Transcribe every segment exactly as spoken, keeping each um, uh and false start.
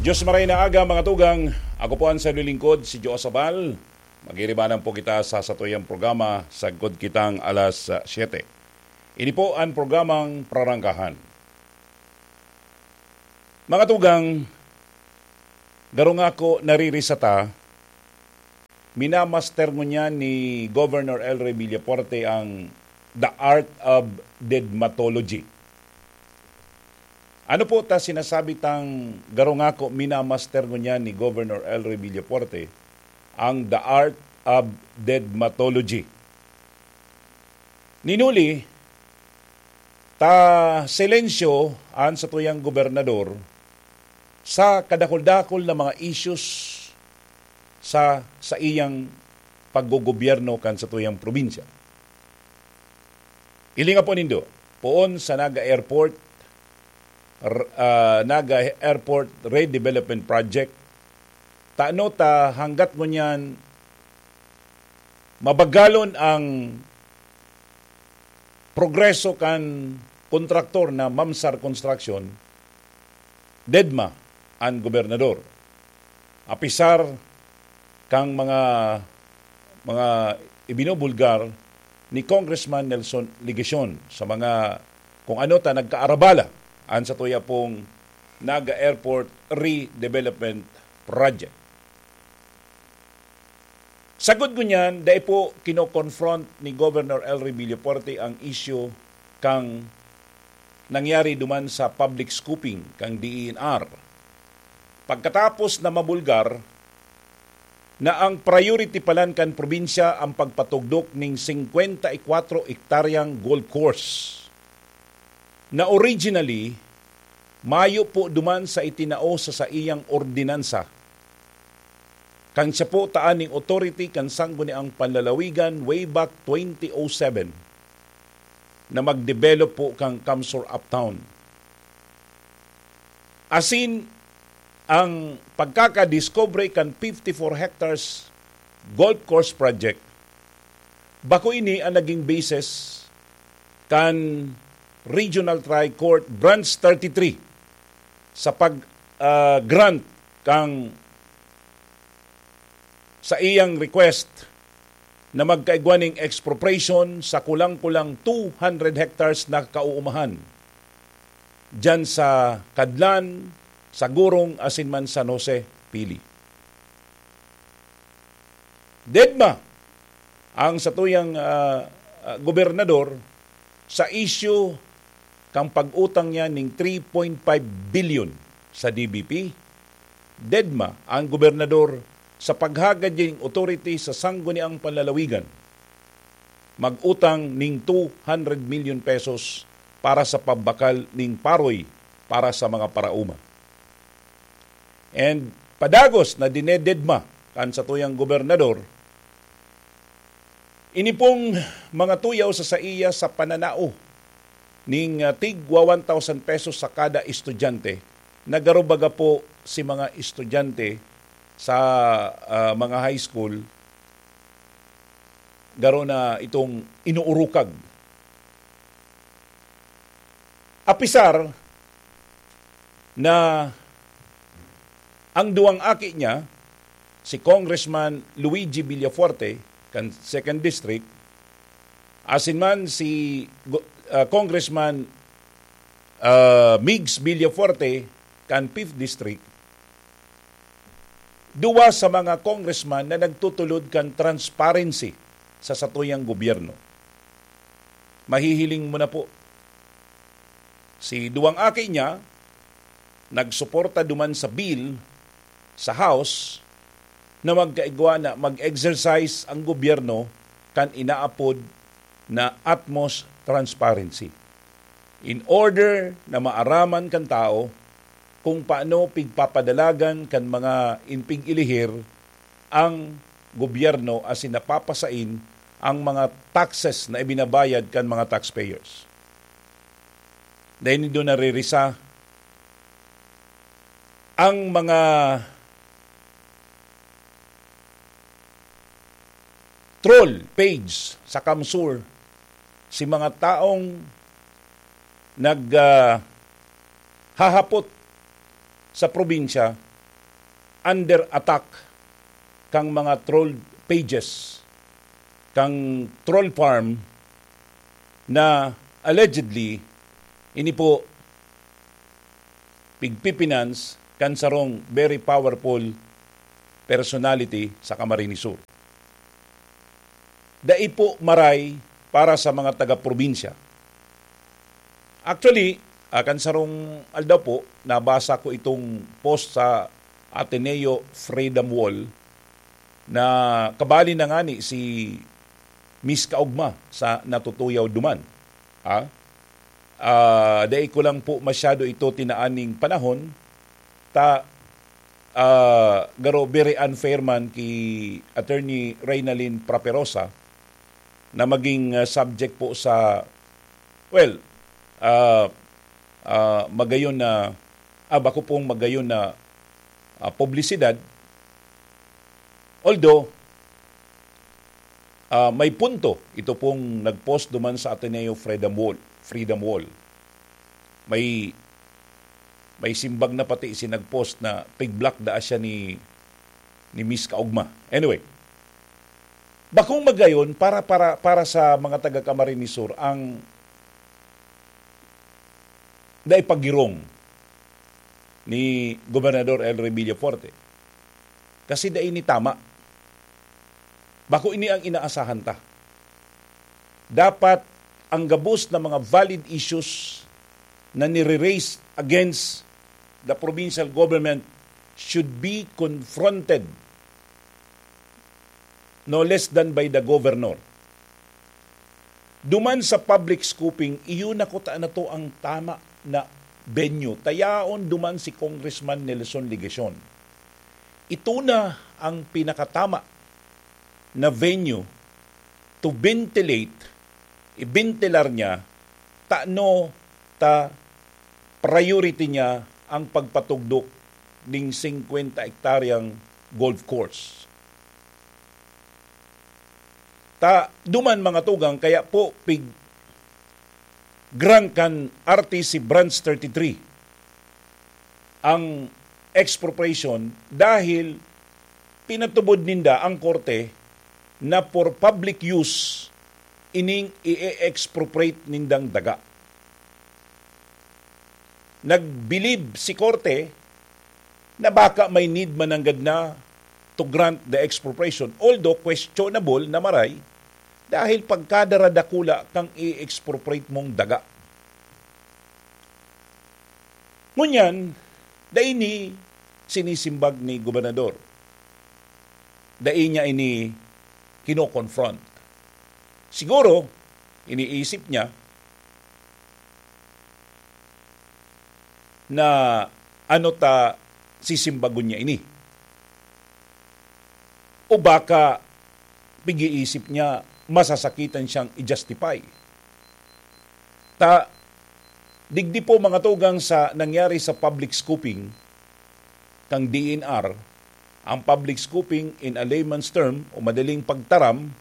Diyos maray na aga, mga tugang. Ako po ang sabi lingkod, si Joe Sabal. Magiribanan po kita sa satuyang programa, sagkod kitang alas ah, siyete. Ini po ang programang Prarangkahan. Mga tugang, garo ngako naririsa ta, minamaster ngunyan ni Governor El Rey Villafuerte ang The Art of Deadmatology. Ano po ta sinasabi tang garo ngako minamaster ngunyan ni Governor El Rey Villafuerte ang The Art of Deadmatology? Ninuli, ta silensyo an satuyang gobernador sa kadakul-dakul na mga issues sa saiyang paggogobyerno kan satuyang probinsya. Hilinga po nindo, poon sa Naga Airport, r- ah, Naga Airport Redevelopment Project, tano ta hanggat ngunyan mabagalon ang progreso kan kontraktor na Mamsar Construction, dedma an gobernador. Apisar kang mga, mga ibinubulgar ni Congressman Nelson Legacion sa mga kung ano ta nagkaarabala an satuya pong Naga Airport Redevelopment Project. Sagod ngunyan, dai po kino-confront ni Governor El Rey Villafuerte ang isyu kang nangyari duman sa public scooping kang D E N R. Pagkatapos na mabulgar na ang priority palan kan probinsya ang pagpatugdok ning singkwenta y kwatro ektaryang golf course na originally mayo po duman sa itinao sa saiyang ordinansa kan siya po ta aning authority kan Sangguniang Panlalawigan way back twenty oh seven na mag-develop po kan Kamsur Uptown. Asin ang pagkakadiscovery kan fifty-four hectares golf course project, bako ini ang naging basis kan Regional Trial Court Branch thirty-three sa pag, ah, grant kang sa iyang request na magkaigwa ning expropriation sa kulang-kulang two hundred hectares na kauumahan diyan sa Kadlan, sa Gurong, asin man San Jose, Pili. Dedma ang satuyang, ah, ah, gobernador sa isyu kan pag-utang niya ning three point five billion sa D B P. Dedma ang gobernador sa paghagad ning authority sa Sangguniang Panlalawigan mag-utang ning two hundred million pesos para sa pambakal ning paroy para sa mga paraoma. And padagos na dinededma kan satuyang gobernador, ini pong mga tuyaw sa saiya sa pananao ning, ah, tigwa one thousand pesos sa kada estudyante, nagarubaga po si mga estudyante sa, ah, mga high school, garo na itong inuurukag. Apisar na ang duwang aki niya, si Congressman Luigi Villafuerte kan Second District, asin man si Go-, ah, Congressman, ah, Migs Villafuerte kan Fifth District, duwa sa mga congressman na nagtutulod kan transparency sa satuyang gobyerno. Mahihiling mo na po, si duwang aki niya nagsuporta duman sa bill sa House na magkaigwa na mag-exercise ang gobyerno kan inaapod na utmost transparency in order na maaraman kan tao kung paano pigpapadalagan kan mga inpig-ilihir ang gobyerno asin napapasain ang mga taxes na ibinabayad kan mga taxpayers. Dahil nindo naririsa ang mga troll page sa Kamsur, si mga taong nag, ah, hahapot sa probinsya under attack kang mga troll pages, kang troll farm na allegedly ini po pigpipinance kan sarong very powerful personality sa Camarines Sur. Dai po maray para sa mga taga-probinsya. Actually, ah, kan sarong aldaw po, nabasa ko itong post sa Ateneo Freedom Wall na kabali na ngani si Miss Kaugma sa natutuyaw duman. Ha? Ah, dai ko lang po masyado ito tinaaning panahon, ta, ah, garo very unfair man ki Attorney Reynalyn Praperosa na maging, ah, subject po sa, well, ah, ah, magayon na, ah, bako pong magayon na, ah, publisidad. Although, ah, may punto ito pong nag-post duman sa Ateneo Freedom Wall, Freedom Wall. May, may simbag na pati si nag-post na pig-block daa siya ni, ni Miss Kaugma. Anyway, bakong magayon para, para, para sa mga taga Camarines Sur ang naipagirong ni Gobernador Elroy Villafuerte. Kasi dai ini tama. Bako ini ang inaasahan ta. Dapat ang gabos na mga valid issues na nire-raise against the provincial government should be confronted no less than by the governor. Duman sa public scooping, iyo na kuta na to ang tama na venue. Tayaon duman si Congressman Nelson Legacion. Ito na ang pinakatama na venue to ventilate, ibentilar niya, tano ta priority niya ang pagpatugdok ning singkwenta hektaryang golf course. Ta duman, mga tugang, kaya po pig-grant kan R T C Branch thirty-three ang expropriation dahil pinatubod ninda ang korte na for public use ining i-expropriate nindang daga. Nagbilib si korte na baka may need mananggad na to grant the expropriation, although questionable na maray dahil pagkadaradakula kang i-expropriate mong daga. Ngunyan, dai ini sinisimbag ni gobernador. Dai niya ini kino-confront. Siguro, iniisip niya na ano ta sisimbagon niya ini. O baka pig-iisip niya masasakitan siyang i-justify. Ta, digdi po, mga tugang, sa nangyari sa public scooping kang D N R, ang public scooping, in a layman's term o madaling pagtaram,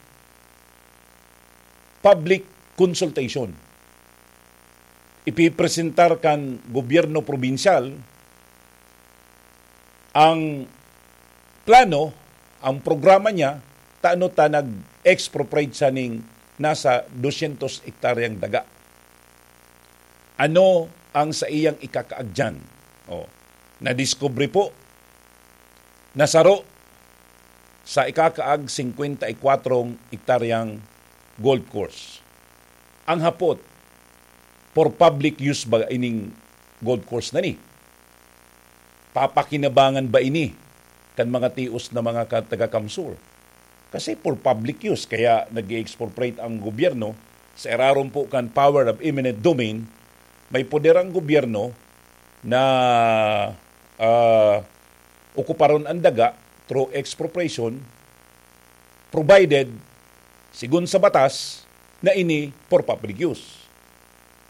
public consultation. Ipipresentar kan gobyerno probinsyal ang plano, ang programa niya, tano ta nag-expropriate siya ning nasa dosyentos hektaryang daga. Ano ang saiyang ikakaag diyan? O, nadiskubre po na saro sa ikakaag singkwenta y kwatro hektaryang golf course. Ang hapot, for public use ba ining golf course na ni? Papakinabangan ba ini kan mga tios na mga ka-, taga-CamSur? Kasi for public use, kaya nag-i-expropriate ang gobyerno sa irarom po kan power of eminent domain. May poder ang gobyerno na, ah, okuparon ang daga through expropriation, provided, sigon sa batas, na ini for public use.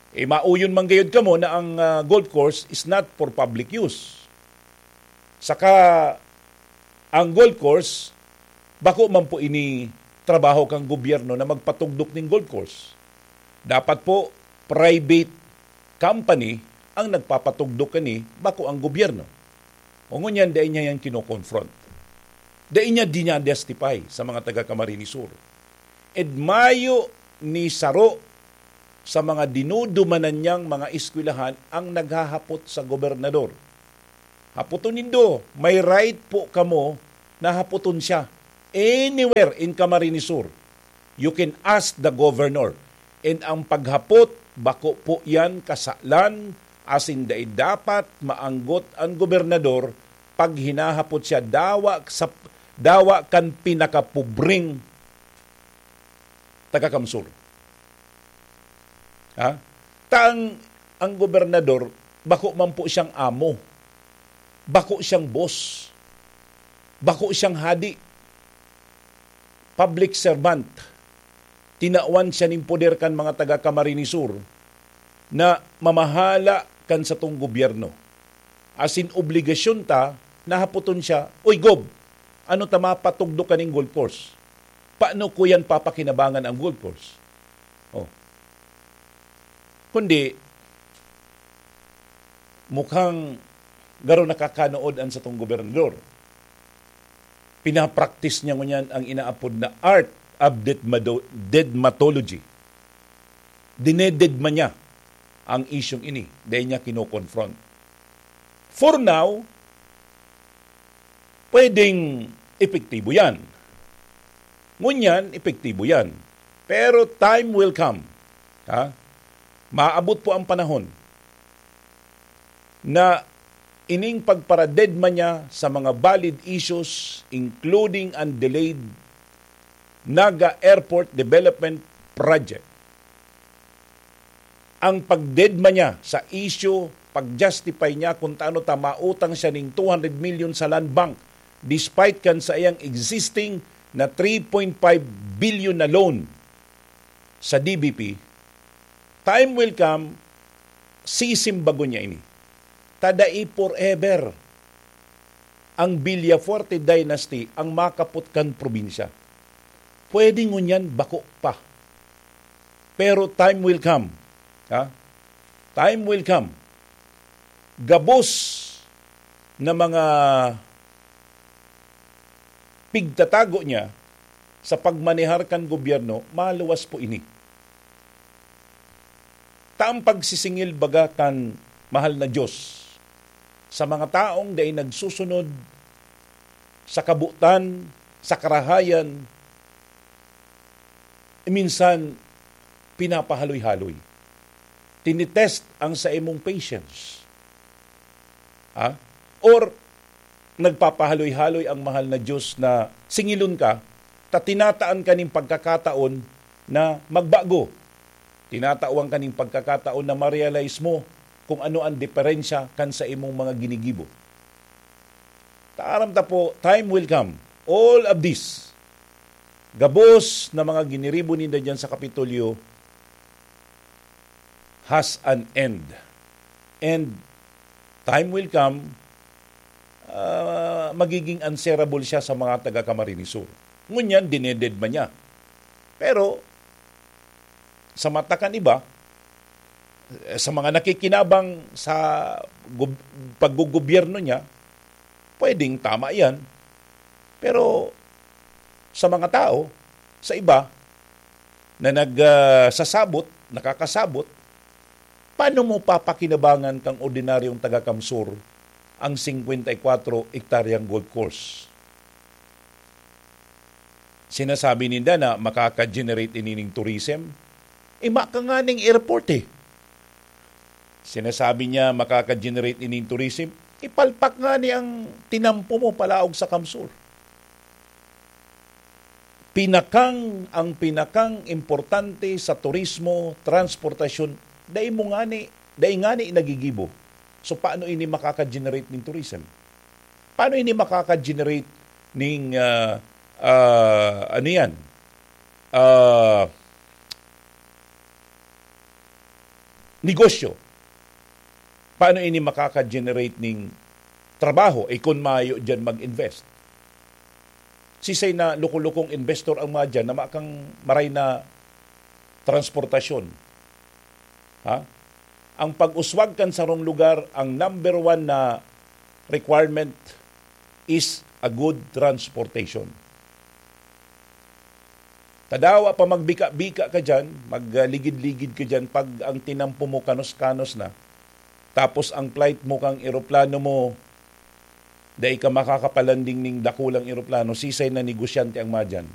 E, mauyon man gayud kamo na ang, ah, golf course is not for public use. Saka, ang golf course, bako man po ini trabaho kan gobyerno na magpatugdok ning golf course. Dapat po, private company ang nagpapatugdok kani, bako ang gobyerno. O ngunyan, dai niya yan kinokonfront. Dai niya dinadestify sa mga taga Camarines Sur. Ed mayo ni saro sa mga dinudumanan niyang mga eskwelahan ang naghahapot sa gobernador. Hapoton nindo, may right po kamo na hapoton siya. Anywhere in Camarines Sur, you can ask the governor. And ang paghapot, bako po yan kasalan, asin dai dapat maanggot ang gobernador pag hinahapot siya dawa sa, dawa kan pinakapobreng taga Kamsur. Ha? Ta ang, ang gobernador, bako man po siyang amo. Bako siyang boss. Bako siyang hadi. Public servant. Tinawan siya nin poder kan mga taga Camarines Sur na mamahala kan satong gobyerno. Asin obligasyon ta, nahapoton siya, "Uy, Gob, ano ta mapatugdo kaning golf course? Paano ko yan papakinabangan ang golf course?" Oh. Kundi, mukhang garo nakakanood an satong gobernador. Pinapraktis niya ngunyan ang inaapod na art of deadmado-, deadmatology. Dinededma niya ang isyong ini. Dai niya kinokonfront. For now, pwedeng epektibo yan. Ngunyan, epektibo yan. Pero time will come. Ha? Maabot po ang panahon na ining pagparadedma niya sa mga valid issues, including ang delayed Naga Airport Development Project. Ang pagdedma niya sa issue, pag-justify niya kung taano ta mautang siya ning two hundred million sa Land Bank, despite kan saiyang existing na three point five billion na loan sa D B P, time will come, sisimbagon niya ini. Ta dai forever ang Villafuerte dynasty ang makapot kan probinsya. Pwede ngunyan bako pa. Pero time will come. Ha? Time will come. Gabos na mga pigtatago niya sa pagmanehar kan gobyerno, maluwas po ini. Ta ang pagsisingil baga kan mahal na Diyos sa mga taong dai nagsusunod sa kabotan, sa karahayan, minsan pinapahaloy-haloy. Tinitest ang saimong patience. Ha? Or nagpapahaloy-haloy ang mahal na Diyos na singilon ka, ta tinataan ka nin pagkakataon na magbago. Tinatawan ka nin pagkakataon na ma-realize mo kung ano ang diferensya kan saimong mga ginigibo. Ta aram ta po, time will come. All of this, gabos na mga giniribo ninda diyan sa Kapitolyo, has an end. And time will come, ah, magiging answerable siya sa mga taga Camarines Sur. Ngunyan, dinededma niya. Pero, sa mata kan iba, eh, sa mga nakikinabang sa gob-, paggogobyerno niya, pwedeng tama yan. Pero sa mga tao, sa iba, na nag, ah, sasabot, nakakasabot, paano mo papakinabangan kang ordinaryong taga-Kamsur ang singkwenta y kwatro ektaryang golf course? Sinasabi ninda na makaka-generate ini ning tourism. Ima ka nga ning airport eh. Sinasabi niya makaka-generate ini ning tourism. Ipalpak nga ni ang tinampo mo palaog sa Kamsur. Pinakang, ang pinakang importante sa turismo, transportasyon, dai mo ngani, dai ngani nagigibo. So, paano ini makaka-generate ning tourism? Paano ini makaka-generate ning, ah, ah, ano yan? Ah, negosyo? Paano ini makaka-generate ning trabaho? Eh, kun mayo diyan mag-invest. Sisay na luko-lukong investor ang mga diyan na makang maray na transportasyon? Ha? Ang pag-uswag kan sarong lugar, ang number one na requirement is a good transportation. Tadawa pa magbika-bika ka dyan, magligid-ligid ka dyan, pag ang tinampo mo kanos-kanos na, tapos ang flight mo kang eroplano mo, dai ka makakapalanding ning dakulang eroplano, sisay na negosyante ang madyan.